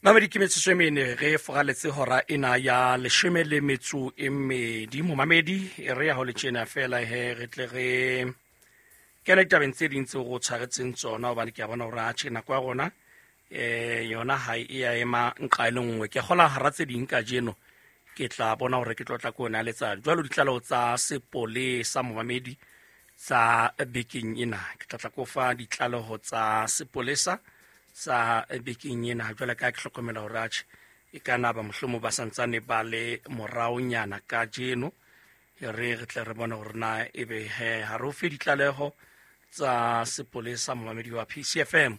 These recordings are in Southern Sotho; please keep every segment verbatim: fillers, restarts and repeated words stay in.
Mamedi ke metsotso e mene re foraletse hora ena ya leshome le metso e mmedi. Momamedi e re ya ho le tjena fela he re tle re kene ditabeng tse ding tseo re o tshwaretseng tsona, hobane ke a bona hore atjhe nako ya rona eh yona ha e ya ema nqa e le nngwe. Ke kgola hara tse ding kajeno ke tla bona hore ke tlo tla ko yona letsa jwalo ditlaleho tsa sepolesa momamedi tsa bekeng ena. Ke tla tla ko fa ditlaleho tsa sepolesa tsa bekeng ena jwale ka ke hlokomela hore atjhe e ka na ba mohlomong ba santsane ba le moraonyana kajeno. Re re tle re bone hore na ebe he ha re o fe ditlaleho tsa sepolesa momamedi wa P C F M.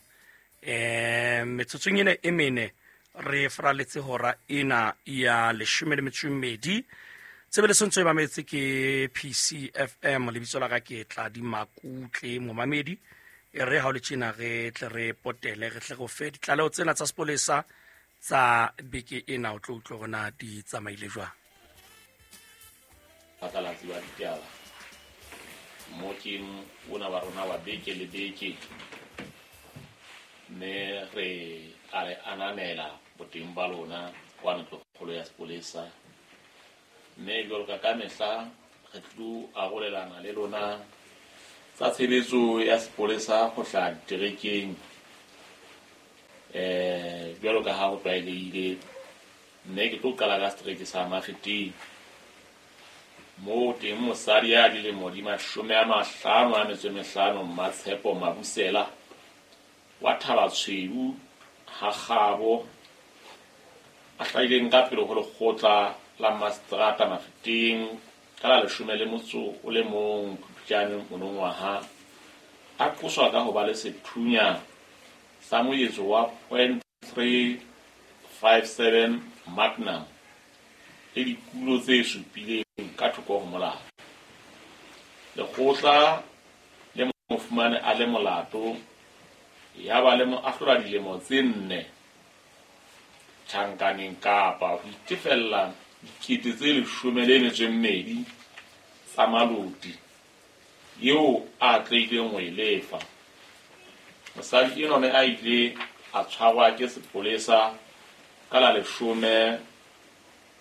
Eh metsotsong ena e mene re fraletse hora ena ya leshome le metso e mmedi. Tshebeletso ntse e mametse ke P C F M, lebitso la ka ke Tladi Makutle momamedi. E re ha o le tjena re tle re potele re tle re o fe ditlaleho tsena tsa sepolesa tsa beke ena, o tlo utlwa hore na di tsamaile jwang. Phatlalatsi wa ditaba mokeng ona wa rona wa beke le beke, mme re a re ananela boteng ba lona kwa ntlokgolo ya sepolesa. Mme jwalo ka ka mehla re tlo arolelana le lona tsa tshebetso ya sepolesa ho hlaha diterekeng, eh jwalo ka ha ho tlwaelehile. Mme ke tlo qala ka setereke sa Mafeteng, moo teng mosadi ya dilemo di mashome a mahlano a metso e mehlano, Mmatshepo Mabusela wa Thabatshweu ha Kgabo, a hlahileng ka pele ho lekgotla la Maseterata Mafeteng ka la leshome le motso o le mong Phupjane monongwaha, a qoswa ka ho ba le sethunya sa moetso wa point three five seven Magnum le dikulo tse supileng ka thoko ho molao. Lekgotla le mo fumane a le molato, ya ba le mo ahlola dilemo tse nne tjhankaneng kapa ho itefella dikete tse leshome le metso e mmedi tsa maloti eo a atlehileng ho e lefa. Mosadi enwa ne a ile a tshwarwa ke sepolesa ka la leshome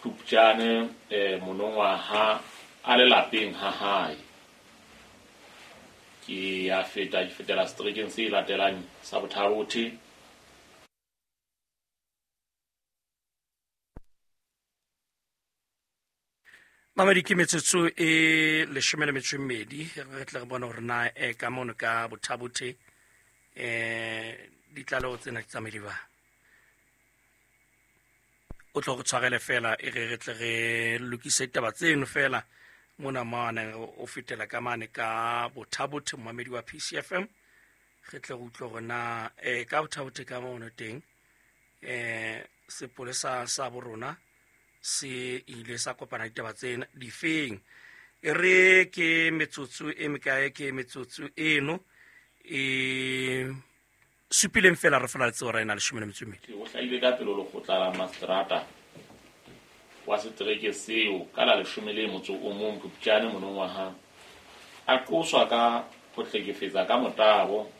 Phupjane eh monongwaha a le lapeng ha hae. Ke ya feta ke fetela seterekeng se latelang sa Bothabothe. Mamedi ke metsotso e leshome le metso e mmedi re tle re bone hore na e ka mono ka Bothabothe eh ditlaleho tsena di tsamaile jwang. O tlo re tshwarele fela e re re tle re lokise ditaba tseno fela mona mane o fetela ka mane ka Bothabothe momamedi wa P C F M. Re tle re utlwe hore na eh ka Bothabothe ka mono teng eh sepolesa sa borona se ile sa kopana ditaba tsena difeng. E re ke metsotso e mekae ke metsotso eno e supileng fela re fela letse hora ena leshome le metso e mmedi. O hlahile ka pele ho lekgotla la Maseterata wa setereke seo ka la leshome le motso o mong Phupjane monongwaha, a qoswa ka ho hlekefetsa ka motabo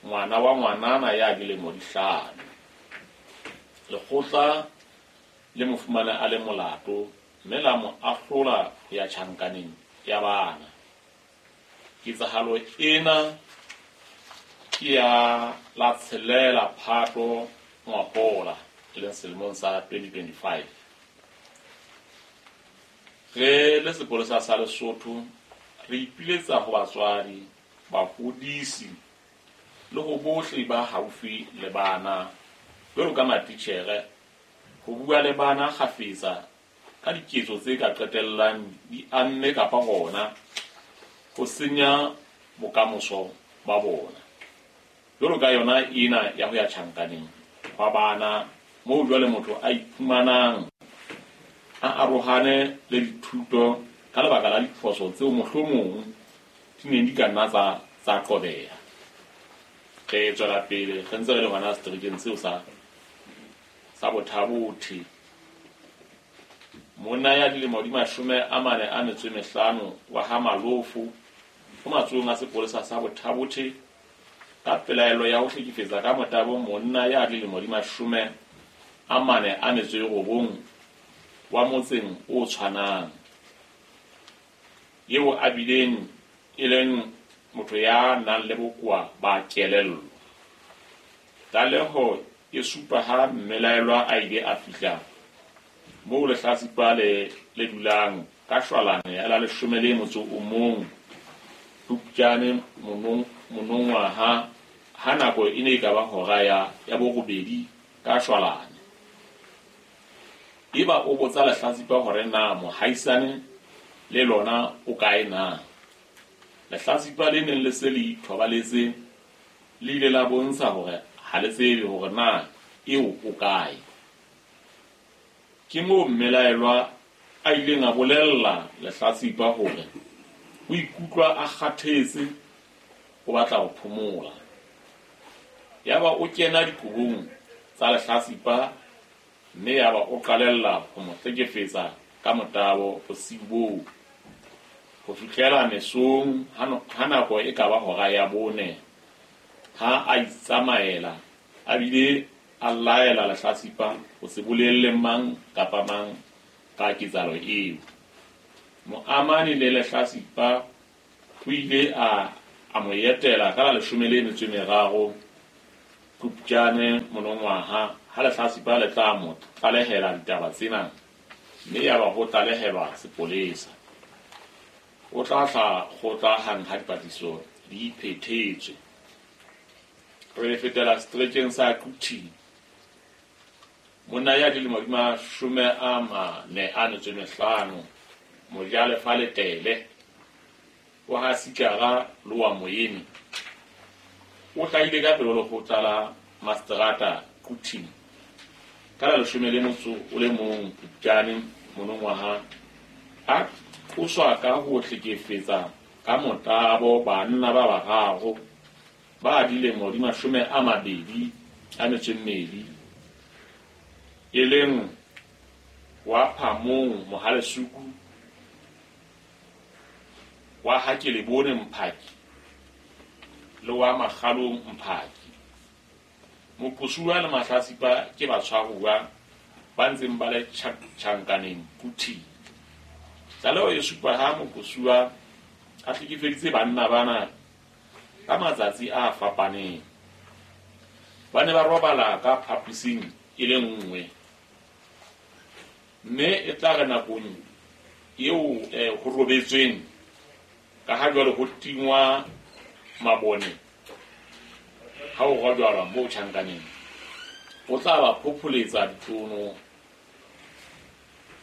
ngwana wa ngwanana ya dilemo di hlano. Lekgotla le mo fumane a le molato mme la mo ahlola ho ya tjhankaneng ya bana. Ketsahalo ena ke ya la tshelela Phato ngwahola, e leng selemong sa twenty twenty-five. Re le sepolesa sa Lesotho re ipiletsa ho batswadi, bahodisi le ho bohle ba haufi le bana jwalo ka matitjhere ho bua le bana kgafetsa ka diketso tse ka qetellang di amme kapa hona ho senya bokamoso ba bona. Jwalo ka yona ena ya ho ya tjhankaneng hwa bana moo jwale motho a iphumanang a arohane le dithuto ka lebaka la diphoso tseo mohlomong di neng di ka nna tsa tsa qobeha. Re tswela pele re ntse re le hona seterekeng seo sa sa Bothabothe. Monna ya dilemo di mashome a mane a metso e mehlano wa ha Malofo o matsohong a sepolesa sa Bothabothe ka pelaelo ya ho hlekefetsa ka motabo monna ya dilemo di mashome a mane a metso e robong wa motseng o tshwanang, eo a bileng e leng motho ya nang le bokowa ba kelello. Tlaleho e supa ha mmelaelwa a ile a fihla moo lehlatsipa le le dulang ka shwalane ya la leshome le motso o mong Phupjane monongwaha ha nako e ne e ka ba hora ya ya borobedi ka shwalane. Eba o botsa lehlatsipa hore na mohaisane le lona o kae na. Lehlatsipa le neng le se le ithobaletse le ile la bontsha hore ha le tsebe hore na eo o kae. Ke moo mmelaelwa a ileng a bolella lehlatsipa hore o ikutlwa a kgathetse, o batla ho phomola. Yaba o kena dikobong tsa lehlatsipa mme yaba o qalella ho mo hlekefetsa ka motabo bosiu boo ho fihlela mesong ha nako e ka ba hora ya bone ha a itsamaela a bile a laela lehlatsipa ho se bolelle mang kapa mang ka ketsahalo eo. Moamani le lehlatsipa o ile a a mo etela ka la leshome le metso e meraro Phupjane monongwaha ha lehlatsipa le tla mo tlalehela ditaba tsena mme yaba ho tlalehelwa sepolesa. O tla hla kgotla hang ha dipatlisiso di phethetswe. Re fetela seterekeng sa Quthing. Monna ya dilemo di mashome a mane a metso e mehlano, Mojalefa Letele wa ha Sikara le wa Moyeni, o hlahile ka pele ho lekgotla la maseterata Quthing ka la leshome le motso o le mong Phupjane monongwaha a qoswa ka ho hlekefetsa ka motabo banna ba bararo ba dilemo di mashome a mabedi a metso e mmedi, e leng wa Phamong Mohalesuku, wa ha Kelebone Mphaki le wa Makgalong Mphaki. Moqosuwa le mahlatsipa ke batshwaruwa ba ntseng ba le tjhankaneng Quthing. Tlaleho e supa ha moqosuwa a hlekefeditse banna bana ka matsatsi a fapaneng. Ba ne ba robala ka phaposing e le nngwe, mme e tla re nakong eo ho robetsweng ka ha jwale ho tingwa mabone ha o rojalwa moo tjhankaneng, o tla ba phopholetsa ditlono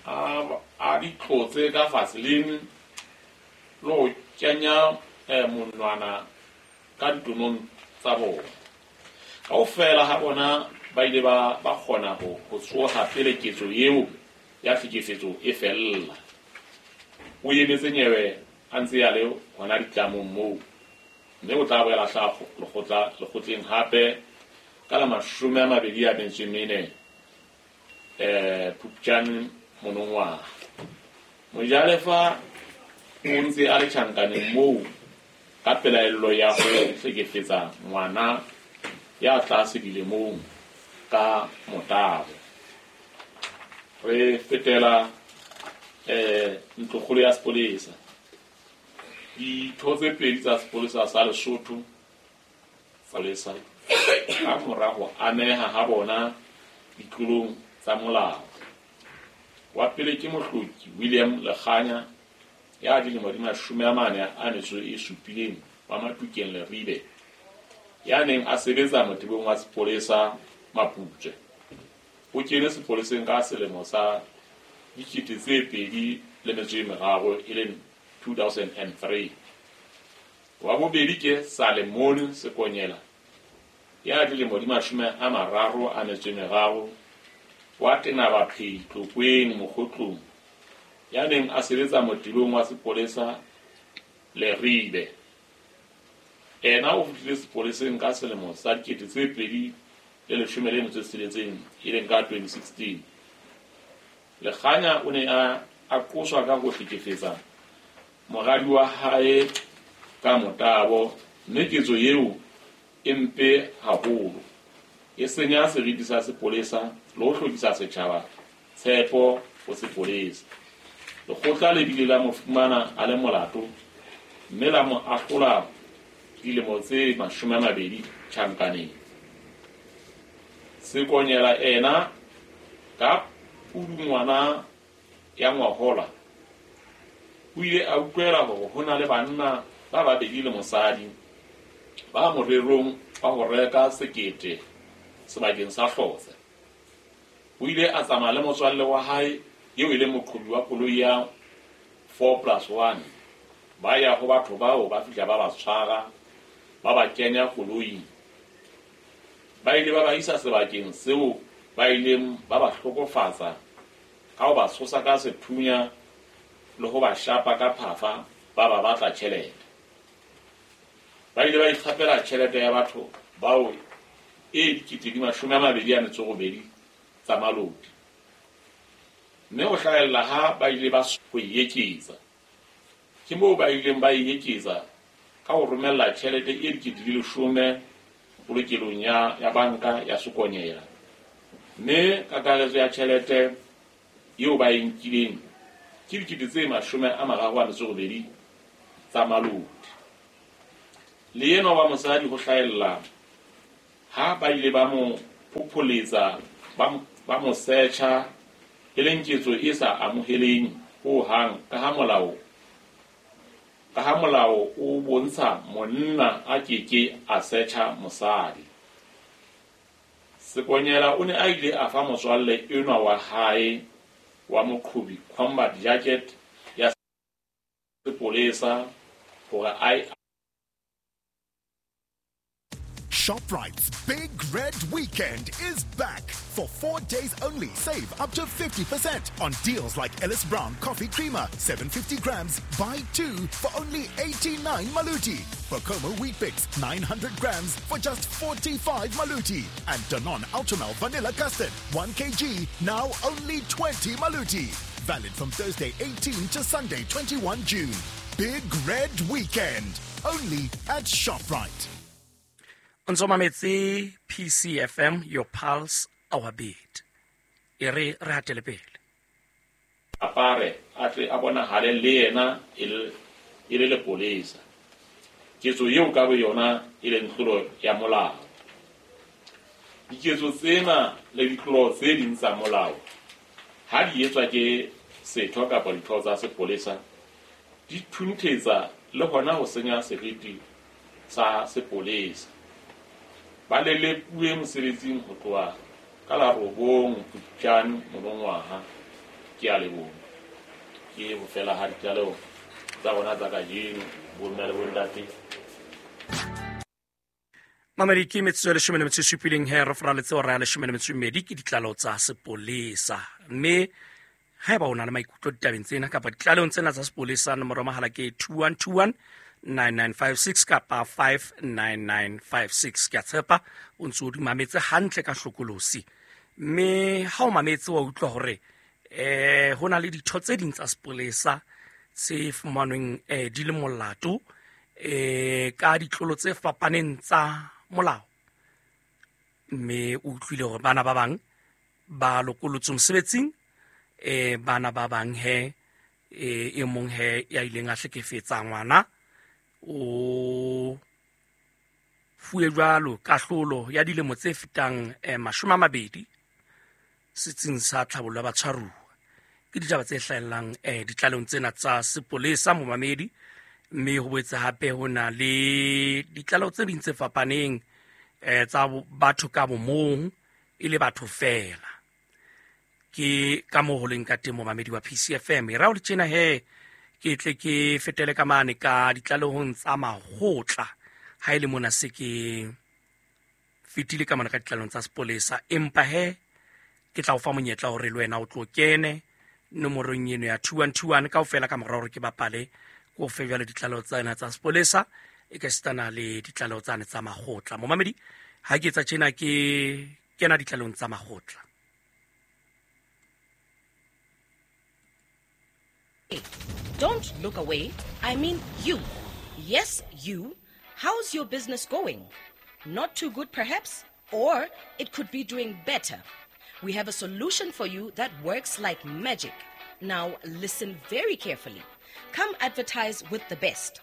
a di tlotse ka vaseline le ho kenya monwana ka ditonong tsa bona. Kaofela ha bona ba ile ba ba kgona ho ho tsoha pele ketso eo ya tlhekefetso e fella. O emetse nyewe a ntse a le hona ditlamong moo, mme o tla boela hlaha lekgotla lekgotleng hape ka la mashome a mabedi a metso e mene eh Phupjane monongwaha. Mojalefa o ntse a le tjhankaneng moo ka pelaello ya ho hlekefetsa ngwana ya tlase dilemong ka motabo. Re fetela eh ntlokgolo ya sepolesa. Ditho tse pedi tsa sepolesa sa Lesotho sepolesa ka mora ho ameha ha bona ditlolong tsa molao. Wa pele ke Mohloki William Lekganya ya dilemo di mashome a mane a metso e supileng wa Matukeng Leribe, ya neng a sebetsa motebong wa sepolesa Maputswe. O kene sepoleseng ka selemo sa dikete tse pedi le metso e meraro e leng two thousand and three. Wa bobedi ke Salemone Sekonyela ya dilemo di mashome a mararo a metso e meraro wa Tenabaphei Tlokweng Mokgotlong, ya neng a sebetsa motebong wa sepolesa Leribe. Ena o fihlile sepoleseng ka selemo sa dikete tse pedi le leshome le metso e tsheletseng e leng ka twenty sixteen. Lekganya o ne a a qoswa ka ho hlekefetsa moradi wa hae ka motabo, mme ketso eo e mpe haholo. e senya seriti sa sepolesa le ho hlokisa setjhaba tshepo ho sepolesa. Lekgotla le bile la mo fumana a le molato mme la mo ahlola dilemo tse mashome a mabedi tjhankaneng. Sekonyela ena ka pudungwana ya ngwahola o ile a utlwela hore ho na le banna ba babedi le mosadi ba morerong wa ho reka sekete sebakeng sa Hlotse. O ile a tsamaya le motswalle wa hae eo e leng moqhobi wa koloi ya four plus one. Ba ya ho batho bao ba fihla ba ba tshwara, ba ba kenya koloing. Ba ile ba ba isa sebakeng seo ba ileng ba ba hlokofatsa ka ho ba tshosa ka sethunya le ho ba shapa ka phafa, ba ba batla tjhelete. Ba ile ba ikgapela tjhelete ya batho bao e dikete di mashome a mabedi a metso robedi tsa malodi. Mme ho hlahella ha ba ile ba ho e eketsa. Ke moo ba ileng ba e eketsa ka ho romella tjhelete e dikete di leshome polokelong ya, ya banka ya Sekonyela. Mme kakaretso ya tjhelete eo ba e nkileng ke dikete tse mashome a mararo a metso robedi tsa malodi. Le enwa wa mosadi ho hlahella ha ba ile ba mo phopholetsa, ba mo searcha, e leng ketso e sa amoheleng ho hang ka ha molao ka ha molao o bontsha monna a keke a searcha mosadi. Sekonyela o ne a ile a fa motswalle enwa wa hae wa moqhobi combat jacket ya sepolesa hore a ShopRite's Big Red Weekend is back. For four days only, save up to fifty percent on deals like Ellis Brown Coffee Creamer, seven hundred fifty grams, buy two for only eighty-nine Maluti. Bokomo Wheat Bix, nine hundred grams for just forty-five Maluti. And Danone Ultramel Vanilla Custard, one kilogram, now only twenty Maluti. Valid from Thursday eighteenth to Sunday twenty-first June. Big Red Weekend, only at ShopRite. O ntso mametse P C F M, your pulse, our beat. E re re hatele pele. Apare a tle a bonahale le yena e le lepolesa. Ketso eo ka boyona e leng tlolo ya molao. Diketso tsena le ditlolo tse ding tsa molao ha di etswa ke setho kapa ditho tsa sepolesa di thunthetsa le hona ho senya seriti sa sepolesa. Ba lelekuwe mosebetsing ho tloha ka la robong Phupjane monongwaha. Ke a leboha. Ke ho fela ha ditlaleho tsa rona tsa kajeno, bomme le bontate. Mamedi, ke metsotso e leshome le metso e supileng he re foraletse hora ya leshome le metso e mmedi ke ditlaleho tsa sepolesa. Mme haeba o na le maikutlo ditabeng tsena kapa ditlalehong tsena tsa sepolesa, nomoro ya mohala ke two one two one nine nine five six kapa five nine nine five six. Ke a tshepa o ntse o di mametse hantle ka hlokolosi. Mme ha o mametse wa utlwa hore eh ho na le ditho tse ding tsa sepolesa tse fumanweng eh di le molato eh ka ditlolo tse fapaneng tsa molao. Mme o utlwile hore bana ba bang ba lokolotswe mosebetsing, eh bana ba bang he e mong he ya ileng a hlekefetsa ngwana o fuwe jwalo kahlolo ya dilemo tse fetang eh, mashome a mabedi setsing sa tlhabollo ya batshwaruwa. Ke ditaba tse hlahellang eh, ditlalehong tsena tsa sepolesa momamedi. Mme ho boetse hape ho na le ditlaleho tse ding tse fapaneng eh, tsa batho ka bomong e le batho feela. Ke ka moo ho leng ka teng momamedi wa P C F M. E ra ho le tjena he ke tle ke fetele ka mane ka ditlalehong tsa makgotla ha e le mona se ke fetile ka mane ka ditlalehong tsa sepolesa, empa he ke tla o fa monyetla hore le wena o tlo kene nomorong eno ya two one two one kaofela ka mora hore ke bapale ko fe jwale ditlaleho tsena tsa sepolesa e ka sitana le ditlaleho tsane tsa makgotla. Momamedi, ha ke etsa tjena ke kena ditlalehong tsa makgotla. Don't look away. I mean you. Yes, you. How's your business going? Not too good, perhaps? Or it could be doing better. We have a solution for you that works like magic. Now listen very carefully. Come advertise with the best.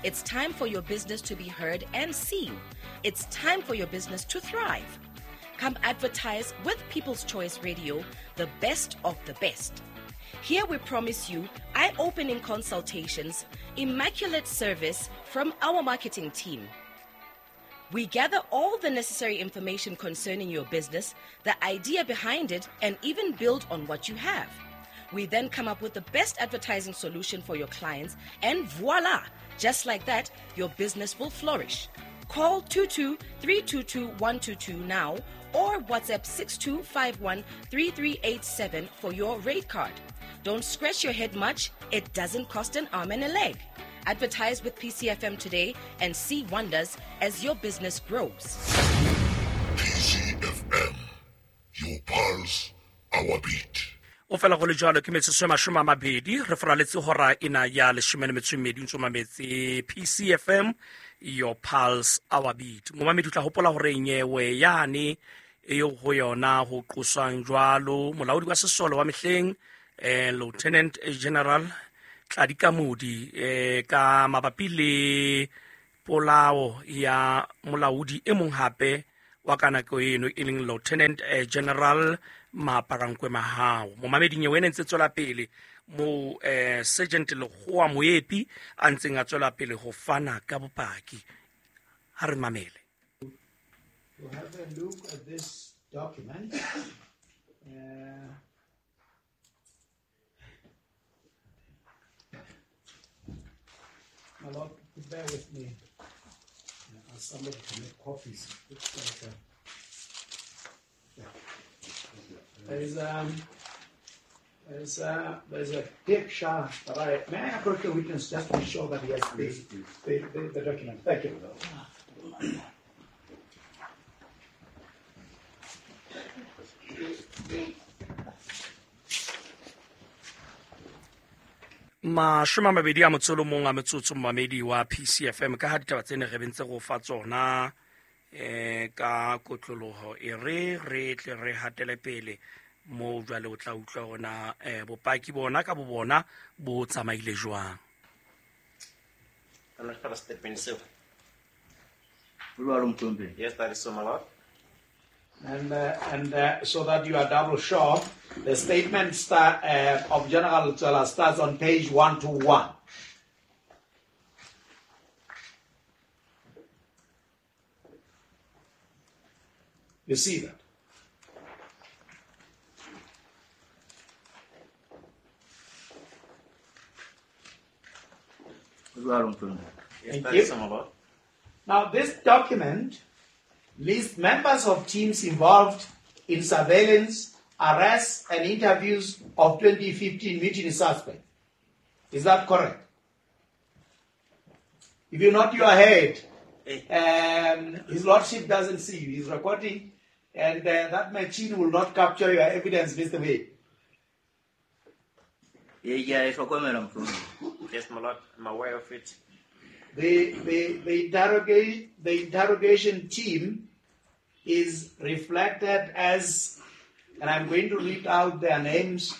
It's time for your business to be heard and seen. It's time for your business to thrive. Come advertise with People's Choice Radio, the best of the best. Here we promise you eye-opening consultations, immaculate service from our marketing team. We gather all the necessary information concerning your business, the idea behind it, and even build on what you have. We then come up with the best advertising solution for your clients, and voila! Just like that, your business will flourish. Call two two three two two one two two now or WhatsApp six two five one three three eight seven for your rate card. Don't scratch your head much. It doesn't cost an arm and a leg. Advertise with P C F M today and see wonders as your business grows. P C F M, your pulse, our beat. O fela go le jalo ke metsotso e mashome a mabedi re foraletse hora ena ya leshome le metso e mmedi ntse o mametse P C F M, your pulse, our beat. Momamedi o tla hopola hore nyewe yane eo ho yona ho qoswang jwalo molaodi wa sesole wa mehleng eh Lieutenant General Tladi Kamodi eh ka mabapi le polao ya molaodi e mong hape wa ka nako eno e leng Lieutenant General Maaparankoe Mahao. Momamedi nyewe ena ntse tswela pele mo eh Sergeant Lekgowa Moepi a ntseng a tswela pele ho fana ka bopaki. Ha re mamele. To have a look at this document. Uh, my lord, bear with me. Uh, ask somebody to make coffees. Looks like a, yeah. There is um, there's a, there's a picture that I may I approach the witness just to be sure that he has the, the, the, the document. Thank you. Mashome a mabedi a motso o mong a metsotso momamedi wa P C F M ka ha ditaba tsene re bentse go fa tsona eh ka kotloloho e re re tle re hatele pele mo jwale o tla utlwa hona eh bopaki bona ka bo bona bo tsamaile jwang. I'm not for statement so. Yes, that is so, my lord. And uh, and uh, so that you are double sure, the statement start, uh, of General Tsela starts on page one two one. You see that? Yes, Thank you. Now, this document lists members of teams involved in surveillance, arrests, and interviews of twenty fifteen mutiny suspects. Is that correct? If you nod your head, um, His Lordship doesn't see you. He's recording, and uh, that machine will not capture your evidence, Mister Way. Yes, my lord, I'm aware of it. The, the, the, interrogation, the interrogation team is reflected as, and I'm going to read out their names.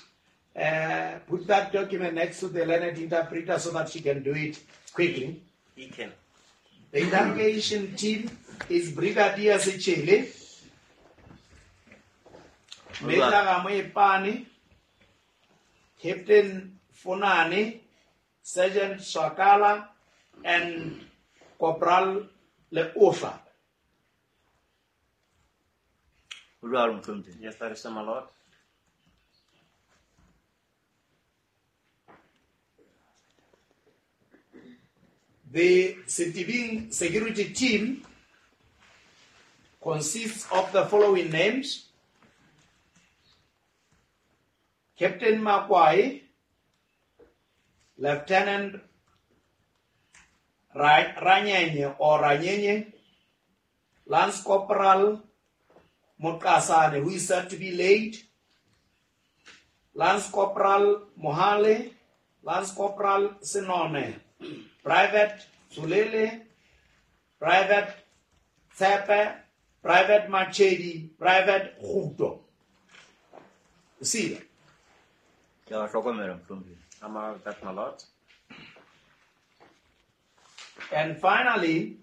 Uh, put that document next to the learned interpreter so that she can do it quickly. He can. The interrogation team is Brigadier Sechele, Major Ramoepane, Captain Fonani, Sergeant Sakala, and Corporal Leofa. Yes, that is so, my lord. The Setibing security team consists of the following names: Captain Makwai, Lieutenant Ranyenye or Ranyenye, Lance Corporal Mokasane, who is said to be late, Lance Corporal Mohale, Lance Corporal Sinone, Private Zulele, Private Tsepe, Private Machedi, Private Khuto. You see that? Ke a hlokomela mohlomphehi. I'm aware of that, my lord. And finally,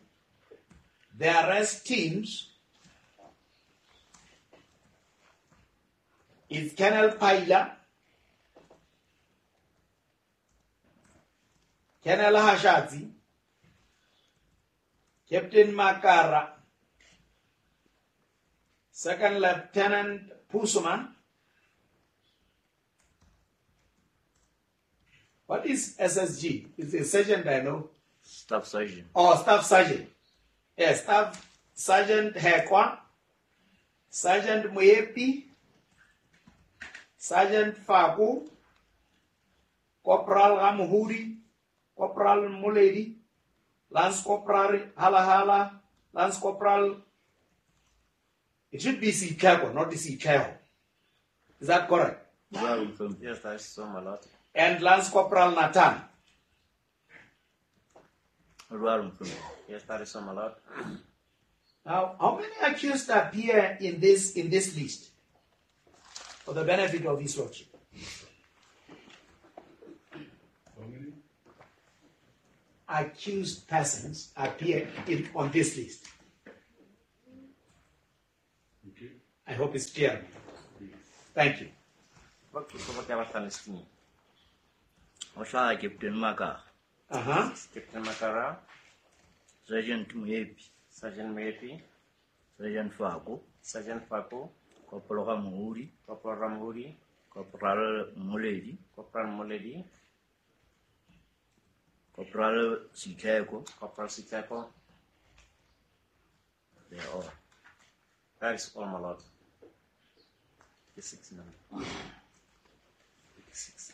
the arrest teams is Colonel Paila, Colonel Hashazi, Captain Makara, Second Lieutenant Pusuman. What is S S G? It's a sergeant, I know. Staff Sergeant. Oh, Staff Sergeant. Yes, Staff Sergeant Hekwa, Sergeant Muepi, Sergeant Faku, Corporal Ramuhuri, Corporal Muledi, Lance Corporal Halahala, Lance Corporal. It should be Sichego, not Sichego. Is that correct? Yes, that is so, my lord. And Lance Corporal Nathan. Yes, that is so, my lord. Now, how many accused appear in this in this list? For the benefit of his lordship. How many? Accused persons appear in, on this list. Okay. I hope it's clear. Yes. Thank you. Ho hlaha Captain Makara. Uh-huh. Captain Makara. Sergeant Muepi. Sergeant Muepi. Sergeant Faku. Sergeant Faku. Corporal Ramuhuri. Corporal Ramuhuri. Corporal Muledi. Corporal Muledi. Corporal Siteko. Corporal Siteko. They are all. That is all, my lord. Six number. Six.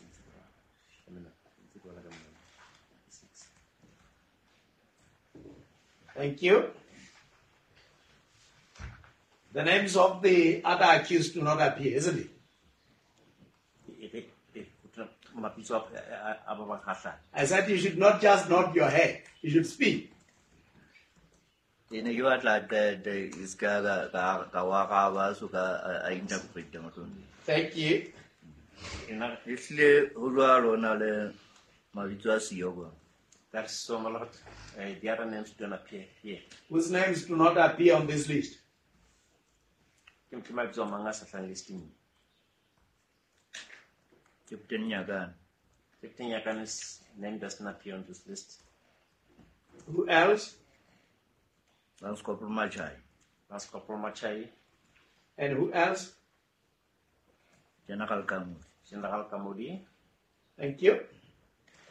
Thank you. The names of the other accused do not appear, isn't it? I said you should not just nod your head, you should speak. Ke ne ke batla qete e ska ka ka ka wa ga so ka a interpret mohlomong. Thank you. Ehlile ho jwalo na le mabitso a siyo kwa. That's so, my lord. Uh, the other names don't appear here. Whose names do not appear on this list? Ke mabitso a mang a sa hlahang listing. Captain Nyakane. Captain Nyakane's name does not appear on this list. Who else? Lance Corporal Machai. Lance Corporal Machai. And who else? General Kamudi. General Kamudi. Thank you.